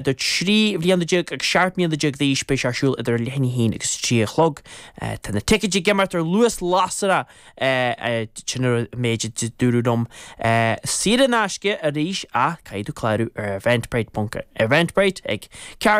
Idir 13 bhliana agus 17 mbliana d'aois, beidh sé ar siúl idir leath i ndiaidh a haon agus a 3 a chlog. Tá na ticéid ag imeacht ar luas lasrach, sin an méid a dúradh liom. Saor in aisce arís ach caithfidh tú clárú ar Eventbrite, Eventbrite ag ceard.